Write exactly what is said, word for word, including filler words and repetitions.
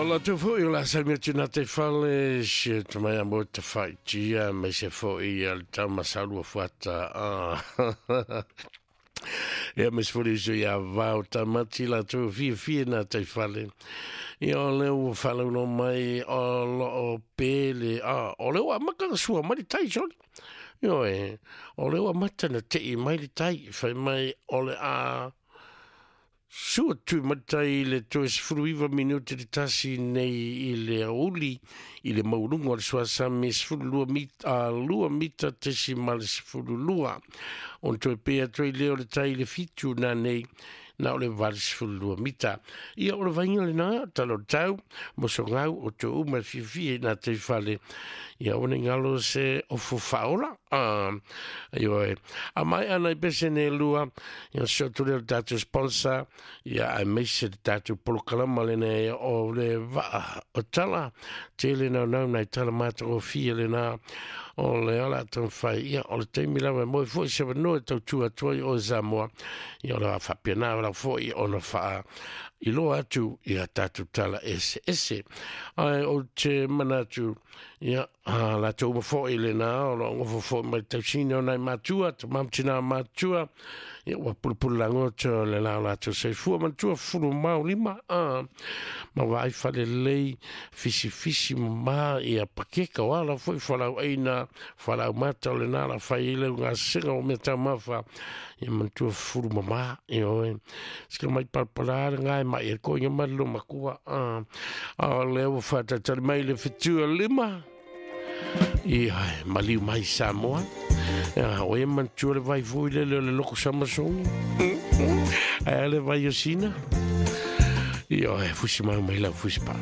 O la tu foi o la salmi atu na te fale se tamai a mo te whaitia me se foi a le tamasalu fuata. Ah. Ia me se foi so ia vau tamati la tu fia fia na te fale. Ia o le ua whalau mai o lo o pele. Ah, o le ua maka sua mai le tai soli. Io e, o le ua mata na te i mai le tai. Whai mai o le a sua tu matai le toe sefulu iva minute le tasi nei i le aoauli i le maualuga o le suasami sefulu lua mita, lua mita tesi ma le sefulu lua. Ona toe pē atu ai lea o le tai i le fitu nanei na o le vale sefulu lua mita. Ia o le vaaiga lenā, tala o le tau, mosogau o tou uma e fiafia i nā tai fale. Ia o ne galo se ofo faaola. Ah, ioe. A mai ana i pese ne lua, ia se o tule o le tātou sponsor, ia ai meise le tātou polokalama lena o le vaa o tala, tele nau nau nai tala māta o fia lena, o le ala tau whai, ia o le taimi lawa e moe foi se wanoa tau tua tua i o Samoa, ia o le whapia nā wala foi ona whaa i loa atu ia tātou tala ese ese. Ai o te mana atu, ia a la tau foi le nā, o lo ngofo foi mai tausina o nai matua, te mamtina matua, ia ua pulupulu langoto le la la tau seifua matua fulu mau lima, a ma vai whale lei fisi fisi ma ia pakeka o ala foi whalau aina, whalau mata o le nā la whai ile ngā singa o mea tau mawha, ia matua fulu mama, ia oe. Sika mai palpala ngai mai e koinga malo makua, a a le ua whatatari mai le fitua lima, ia maliu mai Samoa. Ia o e matua le vai fui le le loko samasongi. Ai le vai o sina. Ia e fusi mau mai la fusi pa.